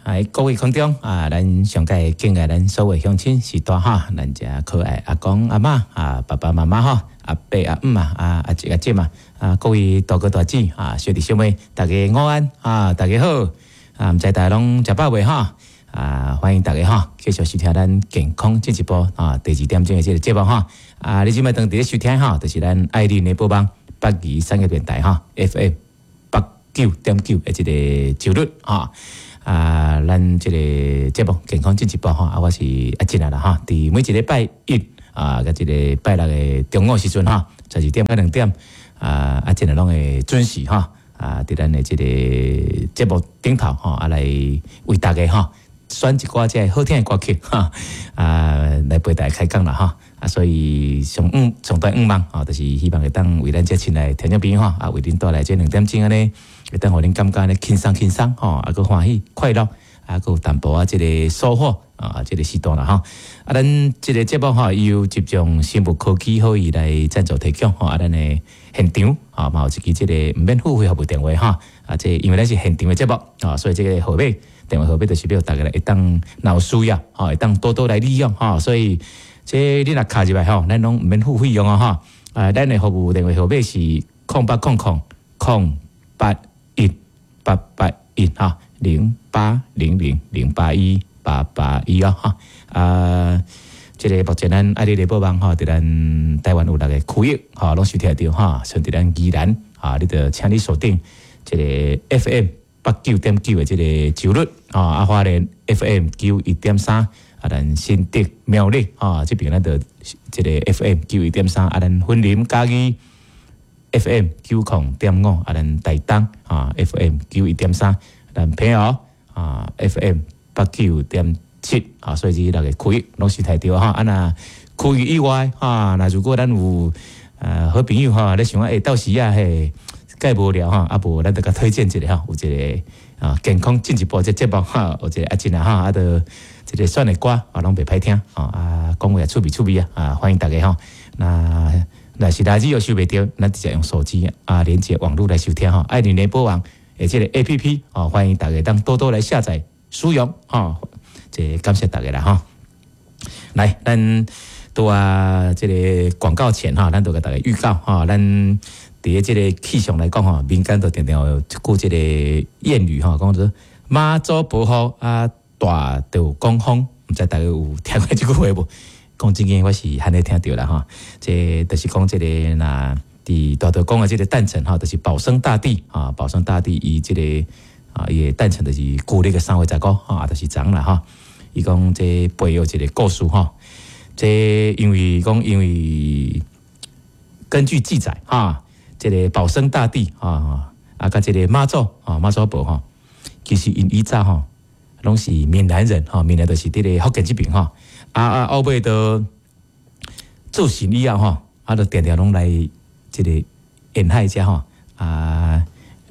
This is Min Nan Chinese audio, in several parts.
喺各位空中啊，咱上蓋敬愛咱所有鄉親序大哈，咱遮可愛阿公阿嬤啊，爸爸媽媽吼，阿伯阿姆啊，啊阿叔阿姊啊，啊各位大哥大姊啊，小弟小妹，大家午安啊，大家好啊，毋知大家攏食飽未哈？啊，歡迎大家哈，繼續收聽咱健康進一步啊，第二點鐘的這個節目哈。啊，你這擺當佇咧收聽哈，就是咱愛鄰聯播網北宜產業電台哈，FM 89.9的這個頻率哈。啊，咱這個節目健康進一步哈，啊，我是阿進啊啦哈，佇每一禮拜一啊，佮這個拜六的中午時陣哈，12點到2點啊，阿進啊攏會準時哈，啊，佇咱的這個節目頂頭吼，啊來為大家哈選一寡這個好聽的歌曲哈，啊來陪大家開講啦哈，啊，所以上嗯上大願望吼，就是希望會當為咱這親愛的聽眾朋友吼，啊，為恁帶來這兩點鐘按呢，會當予恁感覺按呢輕鬆輕鬆吼，啊，閣歡喜快樂，啊，閣有淡薄仔這個收穫啊，這個時段啦吼。啊，咱這個節目吼，由集中生物科技予伊來贊助提供吼，啊，咱的現場啊，嘛有一支這個毋免付費服務電話哈，啊，這因為咱是現場的節目啊，所以這個號碼電話號碼就是欲大家來會當若有需要吼，會當多多來利用吼，所以這你若敲入來吼，咱攏毋免付費用哦吼。啊，咱的服務電話號碼是0800 008 1881哈，0800 081 881哦哈。啊，這個目前咱愛鄰聯播網吼，佇咱台灣有六個區域吼，攏收聽著哈，像佇咱宜蘭啊，你就請你鎖定這個 FM 89.9的這個頻率啊，啊花蓮 FM 91.3，啊咱新竹苗栗啊這邊咱就這個 FM 91.3，啊咱雲林嘉義 FM 90.5，啊咱台東啊 FM 91.3，咱澎湖啊 FM 89.7啊，所以這六個區域攏是聽著哈。啊若區域以外哈，若如果咱有好朋友哈，咧想講欸到時啊嘿，蓋無聊哈，啊無咱就共推薦一下吼，有一個啊健康進一步這節目哈，有一個阿進啊哈，啊就這個選的歌啊攏袂歹聽啊，講話也趣味趣味啊，啊歡迎大家吼。那若是來自又收袂著，咱直接用手機啊連接網路來收聽吼，愛鄰聯播網的這個 APP 哦，歡迎大家當多多來下載使用吼，這感謝大家啦吼。來，咱拄啊這個廣告前哈，咱就共大家預告哈，咱佇這個氣象來講吼，民間都定定有一句這個諺語吼，講做媽祖婆雨啊，大道公風，毋知大家有聽過這句話無？講真經，我是罕咧聽著啦吼。這就是講這個若佇大道公的這個誕辰吼，就是保生大帝啊，保生大帝伊這個啊，伊的誕辰就是舊曆的3月15哈，就是昨啦吼。伊講這背後一個故事吼，這因為講因為根據記載哈，這個保生大帝啊啊，佮這個媽祖啊媽祖婆吼，其實𪜶以早吼攏是閩南人吼，閩南就是佇咧福建這邊吼。啊啊，後尾都做神以後吼，啊，就定定攏來這個沿海遮吼，啊，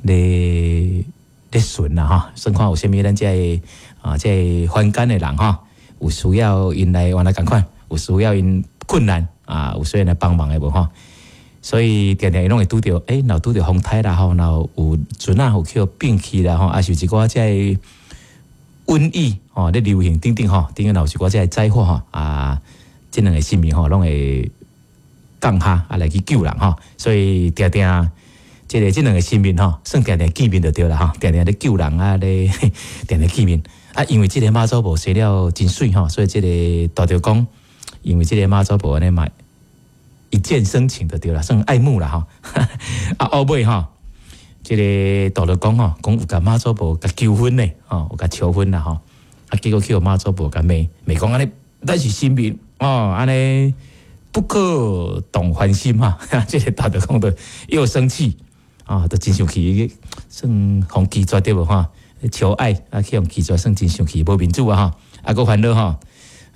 咧咧巡啦吼，算看有啥物咱這個啊，這個凡間的人吼，有需要𪜶來原來仝款，有需要𪜶困難啊，有需要來幫忙的無吼。所以定定伊攏會拄著，欸，若拄著風颱啦吼，若有船仔有去予變去啦吼，啊是一寡這個瘟疫吼，咧流行等等吼，等於若有一寡這個災禍吼，啊，這兩個神明吼，攏會降下啊來去救人吼，所以定定這個這兩個神明吼，算定定見面就對啦吼，定定咧救人啊咧，定定見面啊，因為這個媽祖婆生了真媠吼，所以這個大道公因為這個媽祖婆按呢嘛一見生情就對啦，算愛慕啦吼，啊後尾吼，這個大道公吼，講有共媽祖婆共求婚呢，吼，有共求婚啦吼，啊結果去予媽祖婆共罵罵講按呢，咱是神明哦，按呢不可動凡心哈，這個大道公就又生氣啊，就真生氣，算予拒絕對無吼？求愛啊，去予拒絕，算真生氣，無面子啊吼，啊，閣煩惱吼，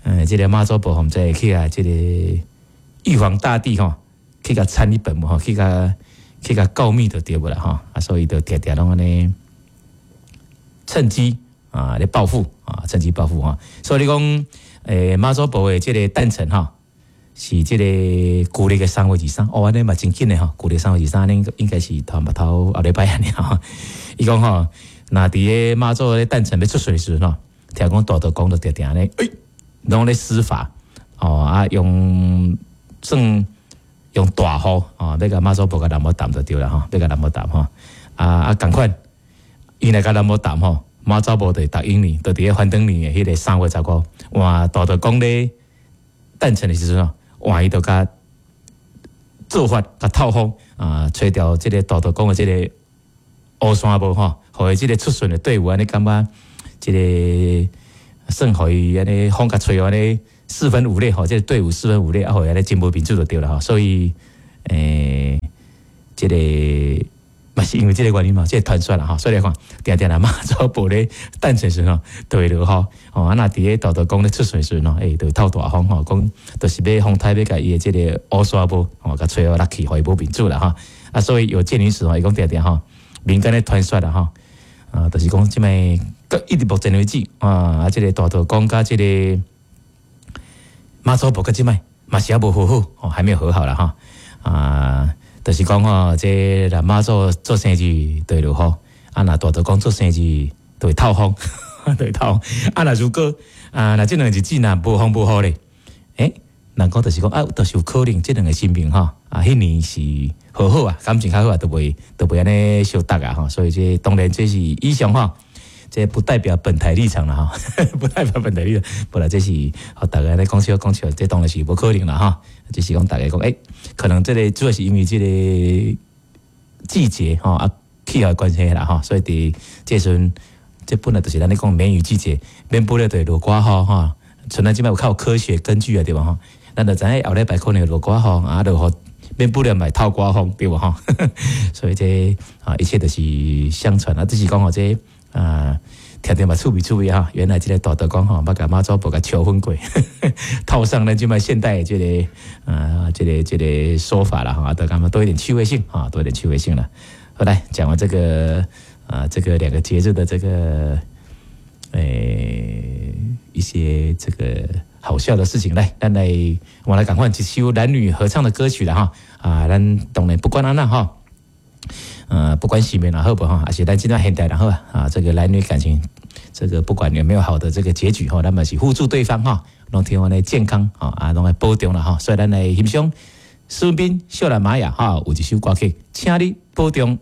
這個媽祖婆毋知去啊，這個玉皇大帝吼，去共參一本無吼，去共告密就對無啦吼，啊，所以就定定攏按呢趁機啊咧報復啊，趁機報復吼。所以你講，媽祖婆的這個誕辰吼，是這個舊曆的3月23，哦，按呢嘛真緊的吼，舊曆三月二三，應應該是頭頭後禮拜按呢吼。伊講吼，若佇个媽祖咧誕辰欲出巡的時陣吼，聽講大道公就定定咧，欸，攏咧施法哦啊，用算用大雨哦，欲共媽祖婆共淋雨澹就對啦吼，欲共淋雨澹吼，啊啊仝款，伊若共淋雨澹吼，媽祖婆就會答應你，就佇咧翻轉年的彼个3月15，換大道公咧誕辰的時陣吼，換伊就共做法共透風啊，吹掉這个大道公的這个烏紗帽吼，予伊這个出巡的隊伍按呢感覺這个算予伊按呢風共吹按呢四分五裂吼，這个隊伍四分五裂啊，予伊按呢真無面子就對啦吼，所以這个嘛是因為這个原因嘛，這个傳說啦吼，所以來看，定定若媽祖婆咧誕辰時吼，就會落雨吼，啊若佇咧大道公咧出巡時吼，欸，就會透大風吼，講就是欲風颱欲共伊的這个烏紗帽吼，共吹予落去，予伊無面子啦吼，啊，所以有鑑於此吼，伊講定定吼，民間的傳說啦吼，啊，就是講這擺一直目前為止啊，啊，這个大道公佮這个媽祖婆佮這擺嘛是猶無和好，哦，還沒有和好啦吼，啊。就是講吼，這若媽祖做生日就會落雨，啊，若大道公做生日就會透風，就會透風。啊，若如果啊，若這兩個日子若無風無雨咧，欸，人講就是講啊，就是有可能這兩个神明吼，啊，彼年是和好啊，感情較好啊，就袂按呢相鬥啊吼。所以這當然這是以上吼，這不代表本台立場啦吼，不代表本台立場。本來這是予大家咧講笑講笑，這當然是無可能啦吼。就是講大家講，欸，可能這个主要是因為這个季節吼啊氣候的關係啦吼，所以佇這時陣，這本來就是咱咧講梅雨季節，免不了就會落寡雨吼。像咱這擺有較有科學根據啊，對無吼？咱就知影後禮拜可能會落寡雨啊，落雨免不了嘛會透寡風，對無吼？所以這啊一切都是相傳啊，只是講吼這啊，聽著嘛趣味趣味哈。原來這个大道公吼，捌共媽祖婆共求婚過，套上咱這擺現代的這个啊，這个說法啦哈，都感覺多一點趣味性啊，多一點趣味性啦。好，來講完這个啊，這個兩個節日的這個一些這個好笑的事情，來，咱來我來趕快一首男女合唱的歌曲啦哈啊，咱當然不管按怎哈，不管性別也好無哈，還是咱這段現代人好啊，這個男女感情，這個不管有沒有好的這個結局哈，咱嘛是互助對方哈，攏希望呢健康啊，攏來保重啦哈，所以咱來欣賞孫斌、少蘭瑪雅哈，有一首歌曲，請你保重。